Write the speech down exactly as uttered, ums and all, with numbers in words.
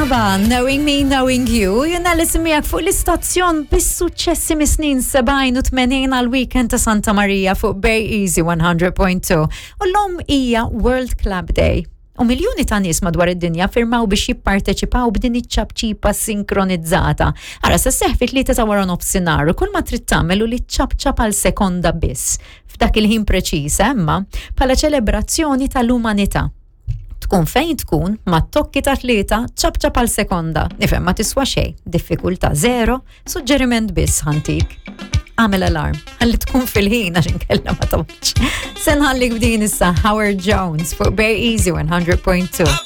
ABBA, Knowing Me, Knowing You, jena li miegħek fuq l-istazzjon bis-suċċessi mis-snin sebgħin u tmenin għal weekend ta' Santa Maria fuq Bay Easy one hundred point two. U llum hija World Clap Day. U miljoni ta' nies madwar id-dinja firmaw biex jipparteċipaw b'din iċ-ċapċipa sinkronizzata. Ara, se sseħħ fit-tlieta ta' wara nofsinhar u kull ma trid tagħmel hu li ċapċap għal sekonda biss. F'dak il-ħin preċiż, imma bħala ċelebrazzjoni tal-umanità. Tkun fejn tkun, ma tokki ta' tlieta, ċapċap għal sekonda. Nifhem ma tiswa xejn, diffikultà zero, suġġeriment biss ħa ntik. Għamel alarm, ħalli tkun fil-ħin għax inkella ma toqgħodx. Se nħallik b'din issa, Howard Jones fuq Bay Easy one hundred point two.